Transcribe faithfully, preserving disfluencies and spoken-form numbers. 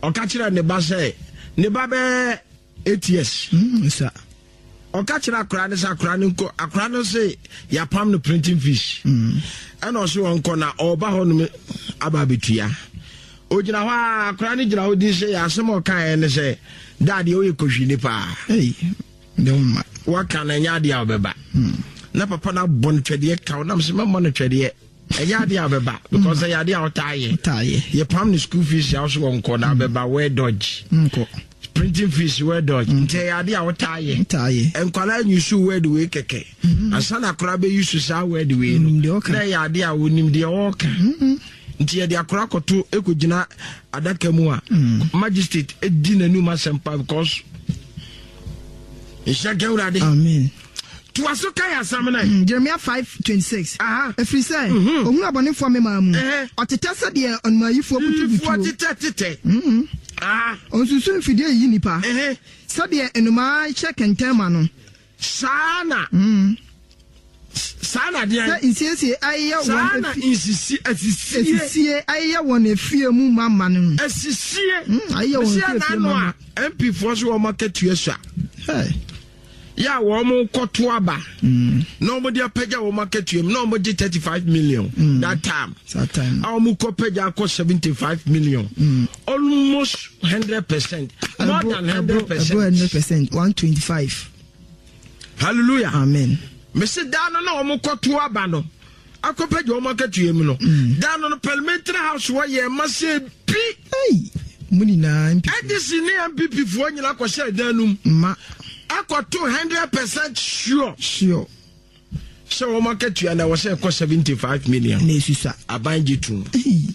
Ɔka kyerɛ ne ba sɛ ne ba bɛɛ eight years. Mm, sa. Ɔka kyerɛ akora no sɛ akora no nkɔ, akora no se yɛapam no printing fees. Ɛna ɔse wɔnkɔ na ɔba hɔ nom aba abɛtua. Ogyina hɔ a, akora no gyina hɔ din sɛ yɛ asɛm a ɔkaeɛ ne sɛ daadeɛ woyɛ kɔhwini paa. Ei, de wo ma. Waka no, ɛnyɛ adeɛ a wobɛba. Na papa no abɔ no twɛdeɛ ka wo nam sɛ mɛmmɔ no twɛdeɛ, ɛnyɛ adeɛ a wobɛba because ɛyɛ adeɛ a wotaa yɛ. Wotaa yɛ. Yɛpam no school fees a wo so wɔnkɔ na wobɛba where dodge Nkɔ. printing fees where dodge, nti ɛyɛ adeɛ a wotaa yɛ. Wotaa yɛ. Nkwalaa nyusu word wei kɛkɛ ansa na akora bɛyusu saa word wei no. Onim deɛ ɔka. Na ɛyɛ adeɛ a wonim deɛ ɔɔka, nti yɛde akora kɔto ɛkɔgyina adaka mu a magistrate ɛdi n'anum asɛm pa because nhyɛ ka Awurade. Amen. Toa so ka yɛ asɛm no. Mm, Jeremiah five twenty-six. Aha. Ɛfiri sɛ ohunu abɔnefoɔ memaa mu. Ɛhɛ. Ɔtetɛ sɛdeɛ ɔnomayifoɔ yifoɔ butubutuo. Tetɛ tetɛ. Ah. Ɔnsusu mfidie yiyi nipa. Ɛhɛ. Sɛdeɛ nnomaa hyɛ kɛntɛn ma no. Saa na saa na deɛ sɛ nsiesie ayɛ saa wɔn na efi nsisi asisie. Esisie ayɛ wɔn efie mu ma ma no. Asisie. Mm, ayɛ wɔn Mesia efie n'ano ma ma. A M P foɔ so wɔn akatua so a Hey. yɛ a wɔn kɔto aba na wɔn de apagya wɔn akatua mu na wɔn gye thirty five million that time Saa time. a wɔn kɔ pagya akɔ seventy five million, almost hundred percent, more than hundred Ɛbro percent. hundred percent, one twenty-five. Hallelujah. Amen. Mesi daa no na wɔn kɔto aba no akɔ pagya wɔn akatua mu no, daa no no parliamentary house wɔ yɛ ɛma sɛ bi. Hey. Mu nyinaa M P. N D C ne N P P foɔ nyinaa kɔhyɛ dan no mu Ma. akɔto hundred percent sure Sure. sɛ wɔn akatua na ɛwɔ sɛ ɛkɔ seventy five million. Na esusa. Aban gye tum. Hey.